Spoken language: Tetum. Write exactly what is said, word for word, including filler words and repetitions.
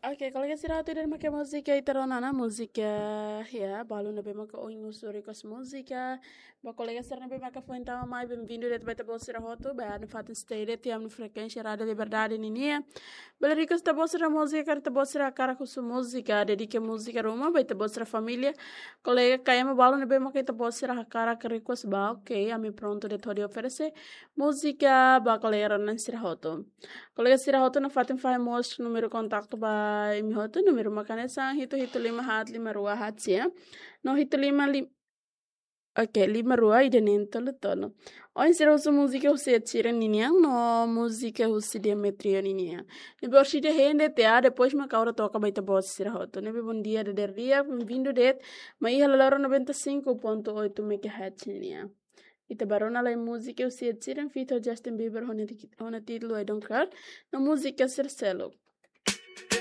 Oke, kolega sira hotu, ida-ne'e mak múzika ita rona ona, múzika, ya, balu ne'ebé maka ohin husu request múzika. Ba kolega sira ne'ebé maka foin tama mai, bem-vindo de'it ba ita-boot sira hotu, ba iha fatin stay de'it iha ami-nia frekuénsia Rádio Liberdade ninian. Bele request ita-boot sira múzika, karik ita-boot sira hakarak husu múzika, dedika múzika ruma ba ita-boot sira família. Kolega kayak ema balu ne'ebé maka ita-boot sira hakarak request ba, oke, ami prontu de'it hodi oferese múzika ba kolega rona sira hotu. Kolega sira hotu, nafatin fahe mós númeru kontaktu ba imi hotu, númeru mak hanesan hitu hitu lima haat lima rua haat sia, no hitu lima lim-, oke, lima rua ida neen tolu tolu. Ohin sira husu múzika husi Ed Sheeran ninian, no múzika husi Diamond Trio ninian. Ne'ebé orsida hein de'it, depois mak ha'u atu toka ba ita-boot sira hotu. Ne'ebé bom dia, dadeer di'ak, bem-vindo de'it, mai iha laloron noventa e cinco ponto oito megahertz ninian. Ita bá rona lai múzika husi Ed Sheeran feat Justin Bieber ho nia ti-, ho nia títulu I Don't Care, no múzika sira seluk.